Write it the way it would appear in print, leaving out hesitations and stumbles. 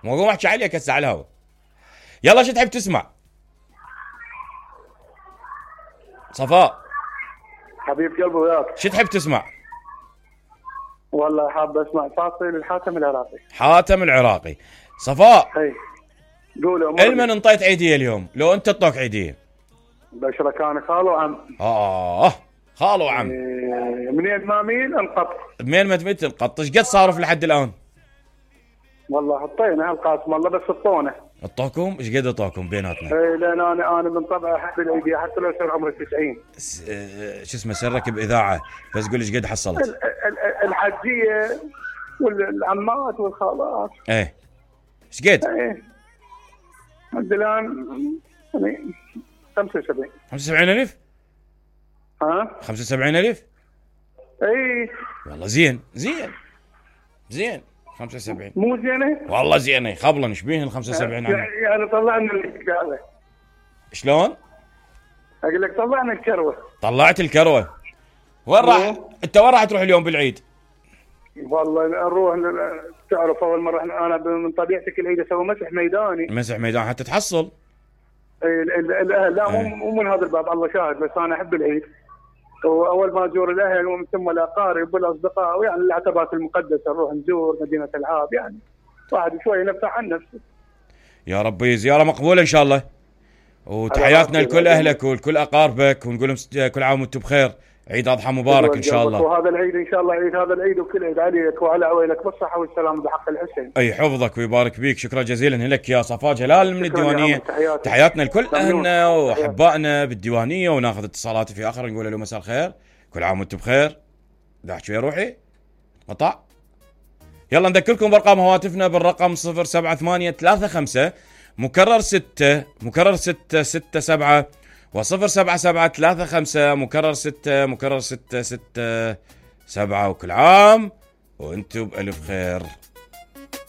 مو اقوم احكي عليك هسه على الهوا. يلا شو تحب تسمع؟ صفاء حبيب قلبي وياك. شو تحب تسمع؟ والله حاب اسمع فاصل الحاتم العراقي. حاتم العراقي. صفاء هي قولوا المن انطيت عيديه اليوم؟ لو انت تطوك عيديه. بشرة كان خال وعم. خال وعم. منين ما مين انقط. منين ما تميت انقط. ايش قد صارف لحد الان؟ والله حطينا هالقاسم والله بس الطونه. اعطوكم ايش قد اعطوكم بيناتنا؟ اي لان انا من طبعي احب العيديه حتى لو صار عمري 90. شو اسمه سرك باذاعه بس قول ايش قد حصلت؟ الحجيه والعمات والخالات. ايه ايش قد؟ ايه لحد الان يعني 75. 75,000؟ ها؟ 75,000؟ اي والله زين 75 مو زينه؟ والله زينه خبلا ايش بيه ال 75 يعني طلعنا الكعبه. شلون؟ اقول لك طلعنا الكروه. طلعت الكروه. وين راح؟ انت وين راح تروح اليوم بالعيد؟ والله نروح تعرف اول مره انا من طبيعتي كل عيد اسوي مسح ميداني حتى تحصل. الاهل لا مو من هذا الباب الله شاهد بس انا احب العيد. واول ما ازور الاهل ومن ثم الاقارب والاصدقاء ويعني العتبات المقدسه نروح نزور مدينه العاب يعني واحد شوي ينفع عن نفسه. يا ربي زياره مقبوله ان شاء الله. وتحياتنا لكل اهلك ولكل اقاربك ونقول لهم كل عام وانتم بخير. عيد اضحى مبارك ان شاء الله. وهذا العيد ان شاء الله عيد هذا العيد وكل عيد عليك وعلى عويلك بالصحه والسلامه بحق الحسين. اي حفظك ويبارك بيك. شكرا جزيلا لك يا صفاء جلال من الديوانيه. تحياتنا لكل اهلنا واحبائنا بالديوانيه وناخذ اتصالات في اخر نقول له مساء الخير كل عام وانتم بخير. لا احكي يا روحي قطع. يلا نذكركم بارقام هواتفنا بالرقم 07835 مكرر 6 مكرر 667 و07735 مكرر 6 مكرر 667 وكل عام وانتم بألف خير.